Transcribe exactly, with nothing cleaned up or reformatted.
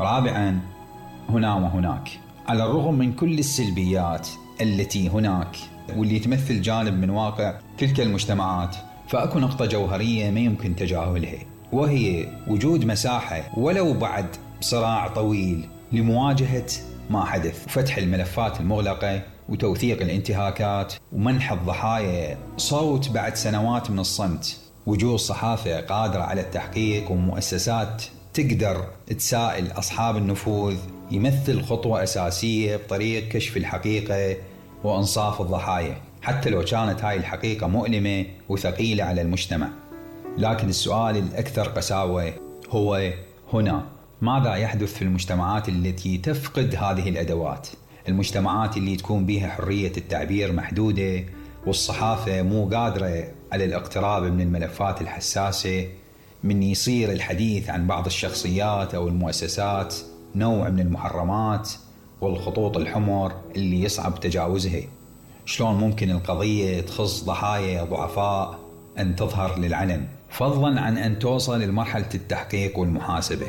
رابعا، هنا وهناك. على الرغم من كل السلبيات التي هناك واللي تمثل جانب من واقع تلك المجتمعات، فأكو نقطة جوهرية ما يمكن تجاهلها، وهي وجود مساحة ولو بعد صراع طويل لمواجهة ما حدث، وفتح الملفات المغلقة وتوثيق الانتهاكات ومنح الضحايا صوت بعد سنوات من الصمت. وجود صحافة قادرة على التحقيق ومؤسسات تقدر تسائل أصحاب النفوذ يمثل خطوة أساسية بطريق كشف الحقيقة وإنصاف الضحايا، حتى لو كانت هاي الحقيقة مؤلمة وثقيلة على المجتمع. لكن السؤال الأكثر قساوة هو هنا ماذا يحدث في المجتمعات التي تفقد هذه الأدوات؟ المجتمعات اللي تكون بها حرية التعبير محدودة والصحافة مو قادرة على الاقتراب من الملفات الحساسة، من يصير الحديث عن بعض الشخصيات أو المؤسسات نوع من المحرمات والخطوط الحمر اللي يصعب تجاوزها. شلون ممكن القضية تخص ضحايا ضعفاء أن تظهر للعلن، فضلا عن أن توصل لمرحلة التحقيق والمحاسبة؟